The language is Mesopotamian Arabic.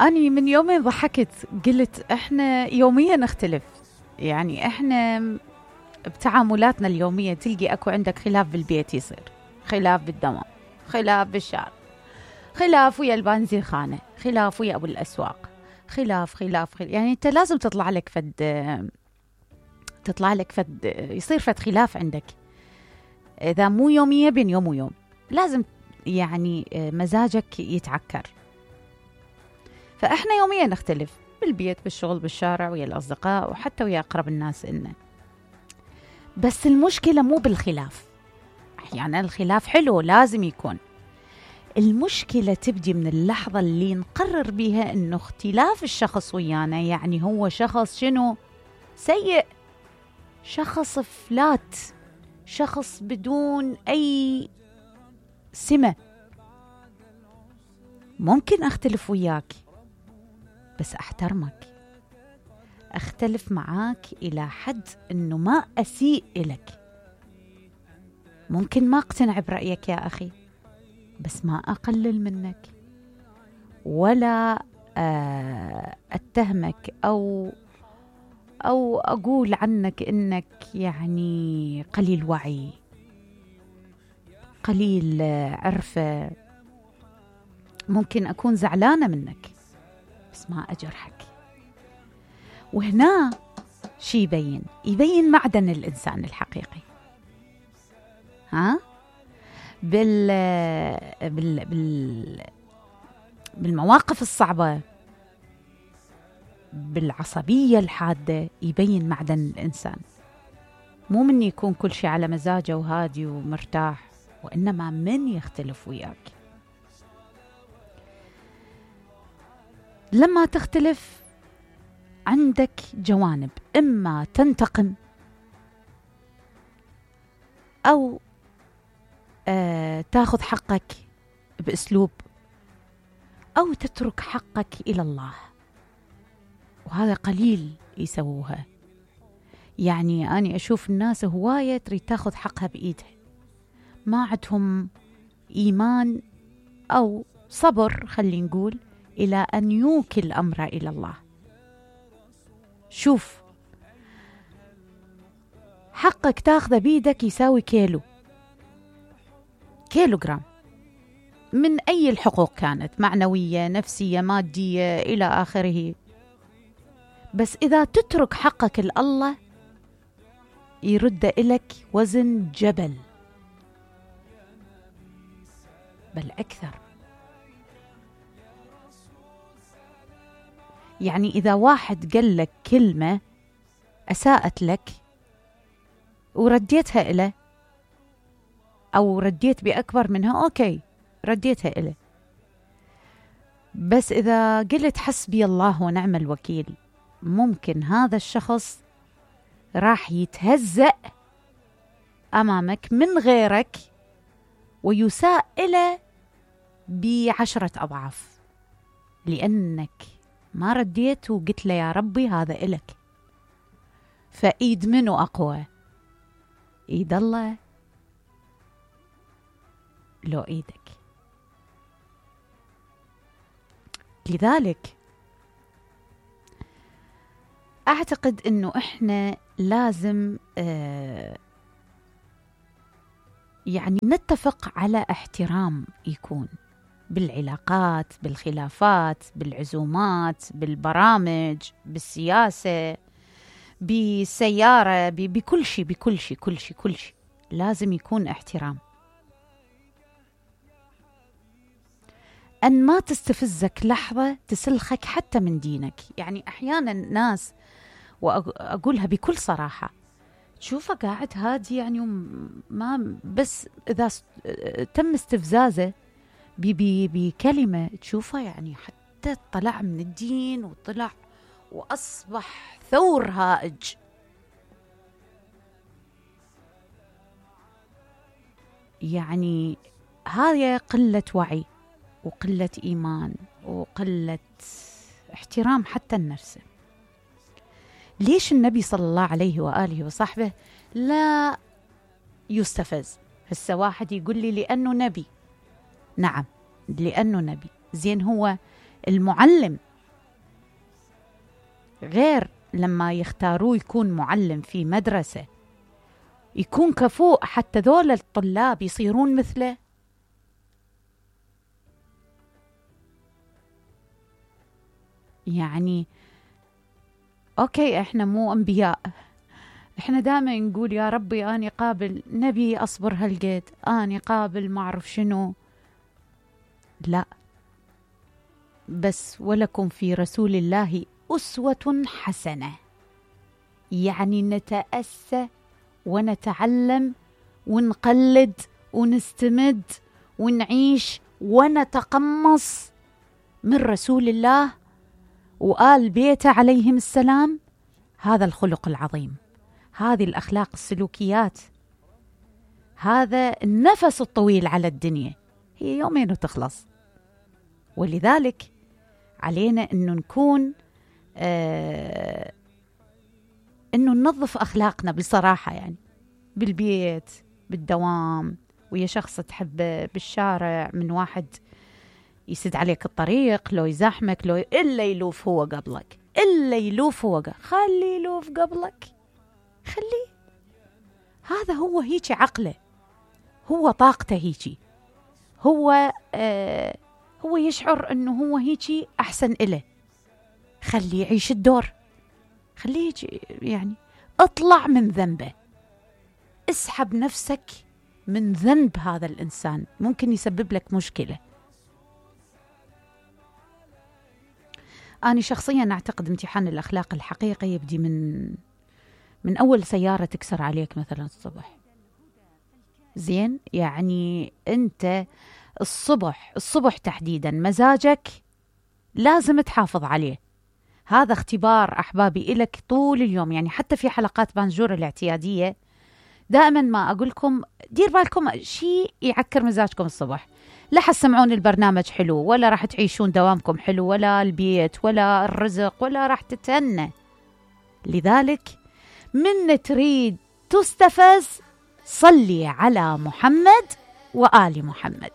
أني من يومين ضحكت، قلت إحنا يوميا نختلف. يعني إحنا بتعاملاتنا اليومية تلقي أكو عندك خلاف بالبيت يصير، خلاف بالدوام، خلاف بالشارع، خلاف ويا البنزين خانة، خلاف ويا أبو الأسواق، خلاف. يعني أنت لازم تطلع لك يصير فد خلاف عندك. إذا مو يومية بين يوم ويوم لازم يعني مزاجك يتعكر. فإحنا يوميا نختلف بالبيت، بالشغل، بالشارع، ويا الأصدقاء، وحتى ويا أقرب الناس إلنا. بس المشكلة مو بالخلاف. أحيانا الخلاف حلو لازم يكون. المشكلة تبدي من اللحظة اللي نقرر بيها إنه اختلاف الشخص ويانا يعني هو شخص شنو؟ سيء، شخص فلات، شخص بدون أي سمة. ممكن أختلف وياك بس أحترمك، أختلف معاك إلى حد إنه ما أسيء إلك. ممكن ما أقتنع برأيك يا أخي، بس ما أقلل منك ولا أتهمك أو أقول عنك إنك يعني قليل وعي، قليل عرفة. ممكن أكون زعلانة منك بس ما أجرحك. وهنا شي يبين معدن الإنسان الحقيقي. ها بالمواقف الصعبة، بالعصبية الحادة، يبين معدن الإنسان. مو من يكون كل شيء على مزاجه وهادي ومرتاح، وإنما من يختلف وياك. لما تختلف عندك جوانب، إما تنتقم أو تاخذ حقك بأسلوب، أو تترك حقك إلى الله، وهذا قليل يسووها. يعني أنا أشوف الناس هواية تريد تاخذ حقها بإيدها، ما عندهم إيمان أو صبر، خلي نقول، إلى أن يوكل أمره إلى الله. شوف، حقك تاخذه بيدك يساوي كيلوغرام من أي الحقوق كانت، معنوية، نفسية، مادية، إلى آخره. بس إذا تترك حقك لله يرد إلك وزن جبل، بل أكثر. يعني إذا واحد قال لك كلمة أساءت لك ورديتها إله، أو رديت بأكبر منها، أوكي رديتها إله. بس إذا قلت حسبي الله ونعم الوكيل، ممكن هذا الشخص راح يتهزأ أمامك من غيرك ويساء إله ب10 أضعاف، لأنك ما رديت وقلت له يا ربي هذا إلك. فإيد منو أقوى؟ إيد الله لو إيدك؟ لذلك أعتقد أنه إحنا لازم يعني نتفق على احترام يكون بالعلاقات، بالخلافات، بالعزومات، بالبرامج، بالسياسة، بالسيارة، بكل شيء، بكل شيء، كل شيء، كل شيء لازم يكون احترام. أن ما تستفزك لحظة تسلخك حتى من دينك. يعني أحيانا ناس، وأقولها بكل صراحة، تشوفه قاعد هادي يعني ما، بس إذا تم استفزازه بكلمة تشوفه يعني حتى طلع من الدين وطلع وأصبح ثور هائج. يعني هذه قلة وعي وقلة إيمان وقلة احترام حتى النفس. ليش النبي صلى الله عليه وآله وصحبه لا يستفز؟ هسه واحد يقول لي لأنه نبي. نعم، لأنه نبي. زين، هو المعلم غير لما يختاروه يكون معلم في مدرسة يكون كفؤ حتى ذول الطلاب يصيرون مثله. يعني أوكي إحنا مو أنبياء، إحنا دائما نقول يا ربي أني قابل نبي أصبر هالقد، أني قابل ما أعرف شنو. لا، بس ولكم في رسول الله أسوة حسنة، يعني نتأسى ونتعلم ونقلد ونستمد ونعيش ونتقمص من رسول الله وآل بيته عليهم السلام هذا الخلق العظيم، هذه الأخلاق السلوكيات، هذا النفس الطويل على الدنيا. هي يومين وتخلص، ولذلك علينا أنه نكون أنه ننظف أخلاقنا بصراحة، يعني بالبيت، بالدوام، ويا شخص تحبه، بالشارع، من واحد يسد عليك الطريق، لو يزاحمك، لو إلا يلوف هو قبلك، إلا يلوف هو خلي يلوف قبلك، خليه. هذا هو هيك عقله، هو طاقته هيك، هو يشعر أنه هو هيك أحسن إله، خليه يعيش الدور، خليه يعني اطلع من ذنبه، اسحب نفسك من ذنب هذا الإنسان، ممكن يسبب لك مشكلة. أنا شخصيا أعتقد امتحان الأخلاق الحقيقي يبدي من أول سيارة تكسر عليك مثلا الصبح. زين، يعني أنت الصبح تحديدا مزاجك لازم تحافظ عليه. هذا اختبار أحبابي إلك طول اليوم، يعني حتى في حلقات بانجور الاعتيادية دائما ما أقولكم دير بالكم شيء يعكر مزاجكم الصبح، لا حتسمعون البرنامج حلو، ولا راح تعيشون دوامكم حلو، ولا البيت، ولا الرزق، ولا راح تتهنى. لذلك من تريد تستفز صلي على محمد وآل محمد.